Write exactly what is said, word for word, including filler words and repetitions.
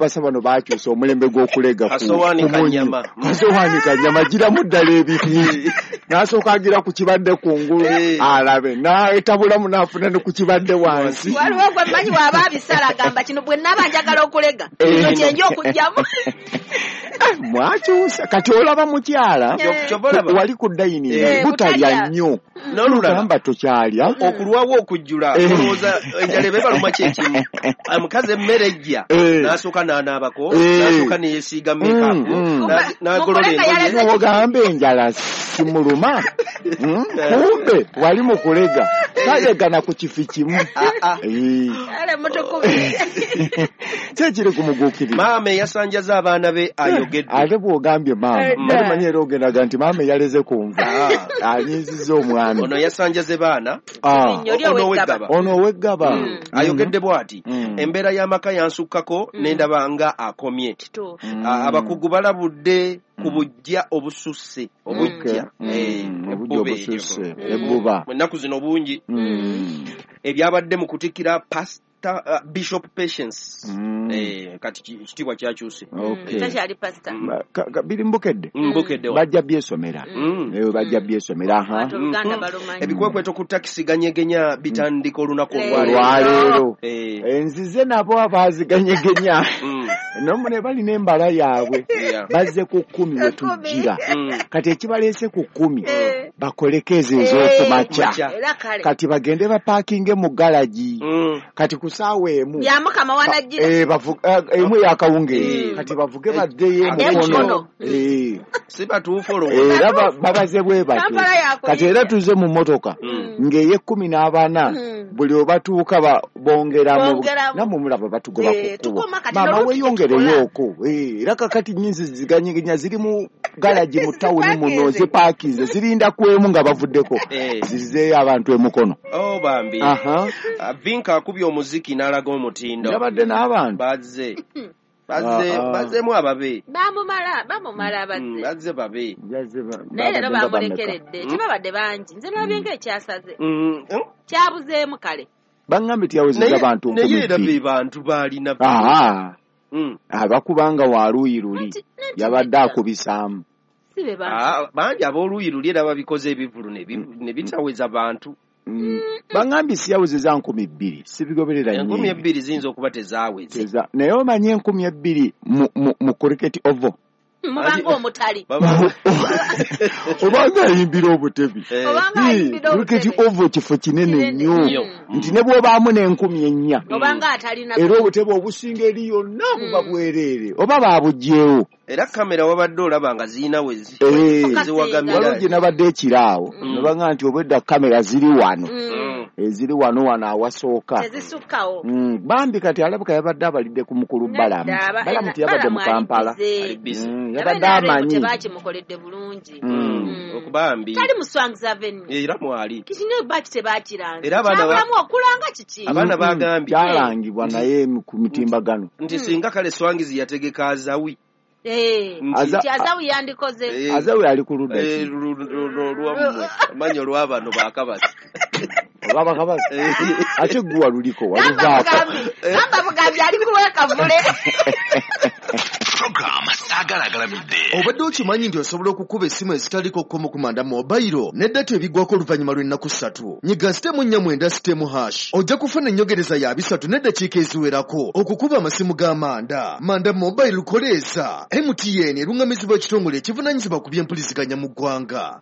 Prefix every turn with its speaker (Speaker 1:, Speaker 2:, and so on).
Speaker 1: Abapasa bano bakyusa omulembe gw'okulega ku
Speaker 2: Kasowaani kanyama.
Speaker 1: Kasowaani kanyama giramu ddala ebiri. N'asooka agira ku kibadde kungulu alabe n'etabulamu n'afuna ne ku kibadde wansi.
Speaker 3: Waliwo gwe mmanyi bw'aba abisala agamba kino bwe nnaaba njagala okulega kino kye nja okuggyamu.
Speaker 1: Mwakyusa kati olaba mukyala wali ku dayini butalya nnyo n'olugamba tokyalya
Speaker 2: okulwawo okujjula olowooza enjala eba ebaluma kyekimu. Omukazi emmere ejja n'asooka n'anaabako n'asooka ne yeesiiga makeup n'agolola engoye
Speaker 1: ogamba enjala simuluma. Kumbe wali mu kulega talegana ku kifi kimu.
Speaker 3: Ale mutukubye
Speaker 1: kyekiri kumuguukirira.
Speaker 2: Maama eyasanjaza abaana be ayogedde.
Speaker 1: Ate bw'ogambye maama bali manyi era ogendaga nti maama eyaleze ku nva anyiizizza omwami.
Speaker 2: Ono yasanjaze baana ono
Speaker 1: ow'eggaba
Speaker 2: ayogedde bw'ati embeera y'amaka yansukkako n'endaba nga akomye. Abakugu balabudde ku bujja obususse obujja obususse ebbuba ennaku zino bungi ebyabadde mu kutikkira pastor Uh, Bishop Patience. Mm. Eh, kati kitiibwa kyakyuse.
Speaker 1: Okay.
Speaker 3: Takyali pastor.
Speaker 1: Biri mbukedde.
Speaker 2: Mbukedde.
Speaker 1: Bajja byesomera.
Speaker 2: Mm.
Speaker 1: Eh, bajja byesomera ha.
Speaker 2: Ebikwekweto ku takisi ganyegenya bitandika olunaku
Speaker 1: olwaleero. Eh. Enzize nabo abaaziganyegenya.
Speaker 2: Mm.
Speaker 1: Nomu ne bali n'embala yaabwe.
Speaker 2: Yeah.
Speaker 1: Bazze ku kkumi we tujjira.
Speaker 2: Mm.
Speaker 1: Kati ekibaleese ku kkumi
Speaker 3: eh.
Speaker 1: bakoleko ezo ez'okumakya.
Speaker 3: Eh.
Speaker 1: Kati bagende bapaakinge mu galagi.
Speaker 2: Mm.
Speaker 1: Kati ku ssaawa emu
Speaker 3: ya Mukama wanajjira
Speaker 1: eh bavuga emu yakawungeezi kati bavuge baddeyo emukono eh
Speaker 2: si batuufu olowooza
Speaker 1: era babaze bwe batyo. Kati era tuze mu mmotoka ng'eye kkumi n'abana buli obatuuka bongeramu nammwe mulaba batugoba ku kkubo maama weeyongereyooko era kakati nnyinzi ziganyegenya ziri mu galagi mu tawuni muno zipaakinze zirinda ku emu nga bavuddeko zirizeeyo abantu emukono.
Speaker 2: Oh bambi Vinka akubye omuziki n'alaga omutindo.
Speaker 1: Yabadde n'abantu
Speaker 2: bazze bazze bazzeemu ababe
Speaker 3: bamumala bamumala bazze
Speaker 2: bazze babe
Speaker 3: naye leero bamulekeredde tebabadde bangi nze nalabye ng'ekyasaze kyabuzeemu kale
Speaker 1: baŋŋambye tiyawezezza bantu
Speaker 2: naye era be bantu baalina
Speaker 1: abakubanga waluuyi luli yabadde akubisaamu
Speaker 2: bangi ab'oluuyi luli era babikoze ebivvulu ne bitaweza bantu.
Speaker 1: Baŋŋambye siyawezezza nkumi bbiri sibigoberera nnyo.
Speaker 2: Enkumi ebbiri ziyinza okuba tezaaweze
Speaker 1: naye omanyi enkumi ebbiri mu cricket oval
Speaker 3: mubanga omutali
Speaker 1: obanga ayimbira obutebi cricket oval kifo kinene nnyo nti ne bw'obaamu n'enkumi ennya era obutebe obusinga eri yonna buba bwereere oba baabuggyewo.
Speaker 2: Era kamera wabadde olaba nga zirina we ziwagamira.
Speaker 1: Waliwo gye nabadde ekiraawo ne baŋŋamba nti obwedda kamera ziri wano eziri wano wano awasooka
Speaker 3: tezisukkawo.
Speaker 1: Bambi kati alabika yabadde abalidde ku mukulu Balamu. Balamu teyabadde mu Kampala yabadde amanyi
Speaker 3: tebakimukoledde bulungi
Speaker 2: okubambi
Speaker 3: tali mu Swangs Avenue
Speaker 2: era mwali
Speaker 3: kiki ne baki tebakiranze
Speaker 2: era abaana
Speaker 3: kyabulamu okulanga kiki
Speaker 2: abaana bagambye
Speaker 1: kyalangibwa naye ku mitimbagano
Speaker 2: nti singa kale Swangs yategeka Azawi
Speaker 3: Eh, Azawi yandikoze.
Speaker 1: Azawi ali ku ludda
Speaker 2: ki? Olwammwe amanyi olw'abano bakabasi.
Speaker 1: Olw'abakabasi? Ate gwe waluliko waluvaako.
Speaker 3: Gamba bugambi ali kuwekavule.
Speaker 4: Program Saagala Agalamidde.
Speaker 5: Obadde okimanyi nti osobola okukuba essimu ezitaliko kkomo ku manda mobayiro ne data ebiggwako oluvannyuma lw'ennaku ssatu. Nyiga sitemu nnya mwenda sitemu hash. Ojja kufuna ennyongereza ya bisatu n'eddakiika eziwerako okukuba amasimu ga manda. Manda mobayiro koleeza. M T N eruŋŋamizibwa ekitongole ekivunaanyizibwa ku by'empuliziganya mu ggwanga.